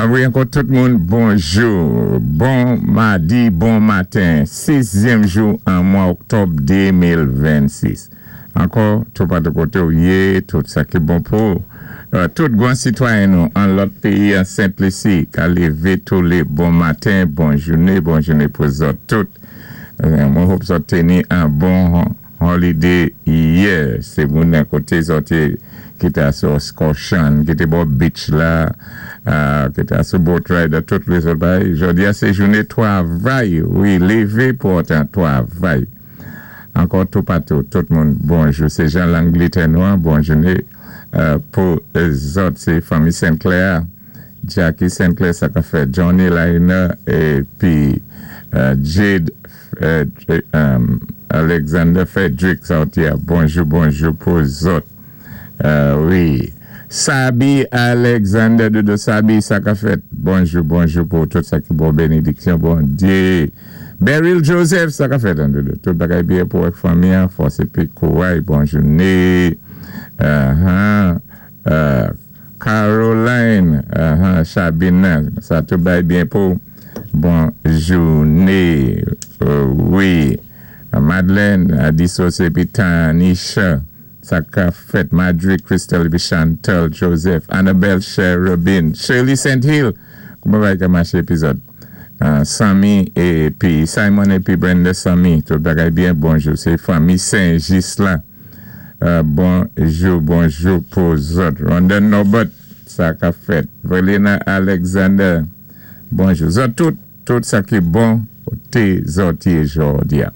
Wi, ankò tout moun, bonjou. Bon madi, bon maten. Sizyèm jou an mwa oktòb 2026. Ankò, toupatou koté ou yé, tout sa ki bon pou tout gwan sitwayen nou an lòt péyi an Sent Lisi ka lévé tou lé bon maten, bon jouné, bon jouné pou zòt tout. Mwen hope zòt teni an bon holiday yè. Sé moun nan koté zòt yé ki ta sou Escutcheon, ki té bò beach la, ki ta sou boat ride, tout lézòt bagay. Jòdi a sé jouné twavay, wi, lévé pou an twavay. Ankò toupatou, tout moun, bonjou. Sé jan Langlétè nou an, bon jouné pou zòt. Sé fanmi Saint Clair, Jackie Saint Clair, sa ka fèt, Johnny Liner épi Jade Alexander Frederick Sautier. Bonjou, bonjou pou zòt. Wi. Sabi Alexander Dodo Sabi, sa ka fèt. Bonjou, bonjou pou tout sa ki bon, bénédiksyon, Bondyé. Beryl Joseph, sa ka fèt, an Dodo. Tout bagay byen pou ak fanmi, fòs épi kouray, bon jouné. Caroline Chabina, sa tout bay byen pou bon jouné. Wi. Madeleine Adisos épi Tanisha, sa ka fèt. Madrid Crystal épi Chantal Joseph, Annabelle Cherubin, Shirley St. Hill, kouman bagay ka maché épizòd? Sammy épi Simon épi Brenda Sammy, tout bagay byen, bonjou. Sé fanmi Saint-Gis la. Bonjou, bonjou pou zòt. Rhonda Norbert, sa ka fèt. Velina Alexander, bonjou. Zòt tout, tout sa ki bon té zòt yé jòdi a.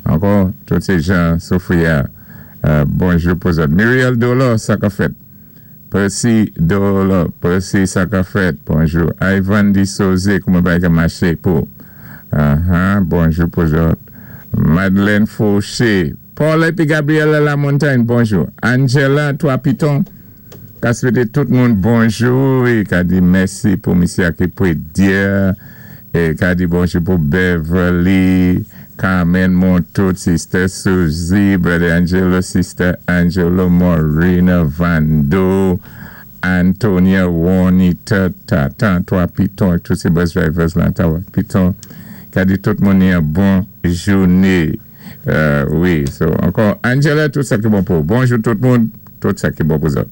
Ankò, tout sé jan Sophia, bonjou pou zòt. Muriel Dolor, sa ka fèt. Percy Dolor, Percy, sa ka fèt, bonjou. Ivan Di Soze, kouman bagay ka maché pou? Bonjou pou zòt. Madeleine Fauché, Paul épi Gabriela Lamontagne, bonjou. Angela Trois Pitons, ka swété tout moun bonjou é ka di mèsi pou misyé a ki pwédyè é ka di bonjou pou Beverly, Carmen Montout, Sister Suzy, Brother Angelo, Sister Angelo, Morena Vando, Antonia Juanita, Tatan, Trois Pitons, tout sé bus drivers la, Trois Pitons, ka di tout moun yon bon jouné. Wi, so ankò, Angela, tout sa ki bon pou. Bonjou tout moun, tout sa ki bon pou zòt.